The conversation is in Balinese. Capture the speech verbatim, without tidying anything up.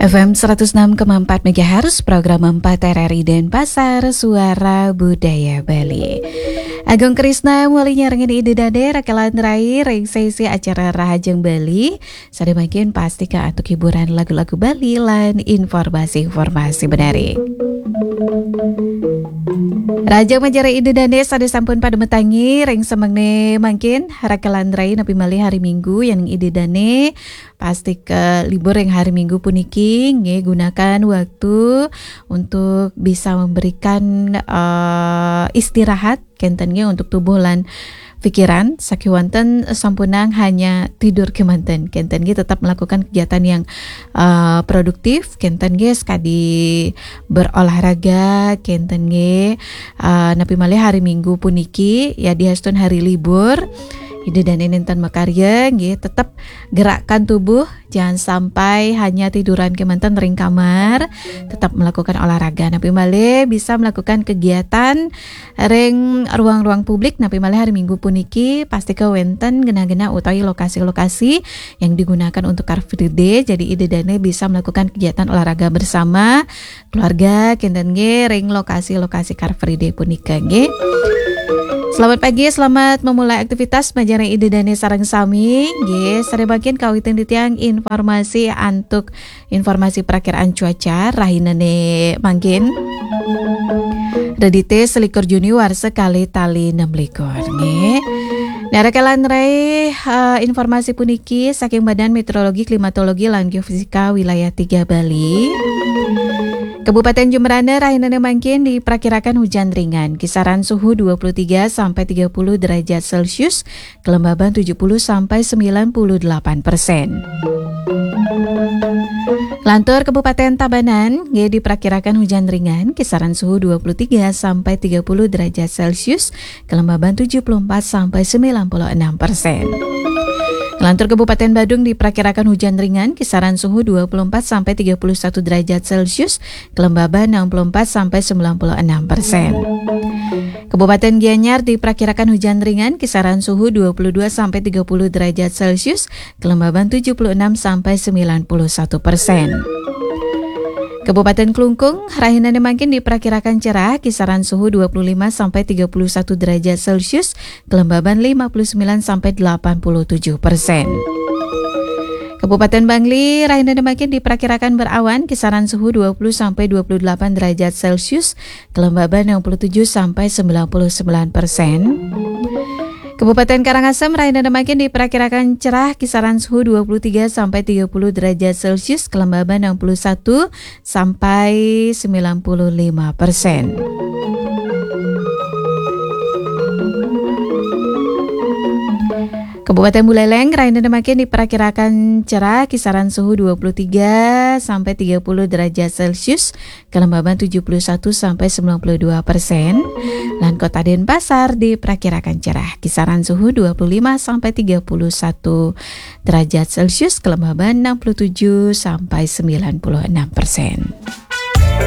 F M seratus enam koma empat megahertz, program empat R R I Denpasar, Suara Budaya Bali. Agung Krisna, mulai nyarengin Ida Dane, Rakelan Rai, ring sesi acara Rahajeng Bali. Sada mangkin pasti ka antuk hiburan lagu-lagu Bali lan informasi-informasi menarik. Rahajeng manjari Ida Dane sada sampun pada matangi, ring semengné mangkin, Rakelan Rai napi malih hari Minggu, yan Ida Dane pasti ke libur ring hari Minggu puniki, nggih, gunakan waktu untuk bisa memberikan, eh, istirahat, kenten nggih, untuk tubuh lan pikiran, sakiwanten sampunang hanya tidur kemanten, kenten nggih, tetap melakukan kegiatan yang, eh, produktif, kenten nggih, sekadi berolahraga, kenten nggih, eh, napi malih hari Minggu puniki, ya, dihastun hari libur, Ida Dane nénten makarya, nggih, tetap gerakkan tubuh, jangan sampai hanya tiduran kemanten ring kamar, tetap melakukan olahraga. Napi malih bisa melakukan kegiatan ring ruang-ruang publik, napi malih hari Minggu puniki, pasti ke wenten genah-genah utawi lokasi-lokasi yang digunakan untuk Car Free Day. Jadi Ida Dane bisa melakukan kegiatan olahraga bersama keluarga, kenten nggih, ring lokasi-lokasi Car Free Day punika, nggih. Selamat pagi, selamat memulai aktivitas, manjari Ida Dane sareng sami, nggih. Sada mangkin kawitin titiang informasi antuk informasi perakiraan cuaca, rahinané mangkin. Redité selikur Juni warsa kalih tali enam likur, nggih. Nah, Rakelan Rai, eh, informasi puniki saking Badan Meteorologi, Klimatologi, lan Geofisika Wilayah tiga Bali. Kabupaten Jembrana rahinané mangkin diperkirakan hujan ringan, kisaran suhu dua puluh tiga sampai tiga puluh derajat Celcius, kelembaban tujuh puluh sampai sembilan puluh delapan persen. Lantur Kabupaten Tabanan, nggih, diperkirakan hujan ringan, kisaran suhu dua puluh tiga sampai tiga puluh derajat Celcius, kelembaban tujuh puluh empat sampai sembilan puluh enam persen. Lantur Kabupaten Badung diperkirakan hujan ringan, kisaran suhu dua puluh empat sampai tiga puluh satu derajat Celcius, kelembaban enam puluh empat sampai sembilan puluh enam persen. Kabupaten Gianyar diperkirakan hujan ringan, kisaran suhu dua puluh dua sampai tiga puluh derajat Celcius, kelembaban tujuh puluh enam sampai sembilan puluh satu persen. Kabupaten Klungkung, rahinané mangkin diperkirakan cerah, kisaran suhu dua puluh lima sampai tiga puluh satu derajat Celcius, kelembaban lima puluh sembilan sampai delapan puluh tujuh persen. Kabupaten Bangli, rahinané mangkin diperkirakan berawan, kisaran suhu dua puluh sampai dua puluh delapan derajat Celcius, kelembaban enam puluh tujuh sampai sembilan puluh sembilan persen. Kabupaten Karangasem, rahinané mangkin diperkirakan cerah, kisaran suhu dua puluh tiga sampai tiga puluh derajat Celcius, kelembaban enam puluh satu sampai sembilan puluh lima persen. Kabupaten Buleleng, rahinané mangkin diperkirakan cerah, kisaran suhu dua puluh tiga sampai tiga puluh derajat Celcius, kelembaban tujuh puluh satu sampai sembilan puluh dua persen. Lan Kota Denpasar diperkirakan cerah, kisaran suhu dua puluh lima sampai tiga puluh satu derajat Celcius, kelembaban enam puluh tujuh sampai sembilan puluh enam persen.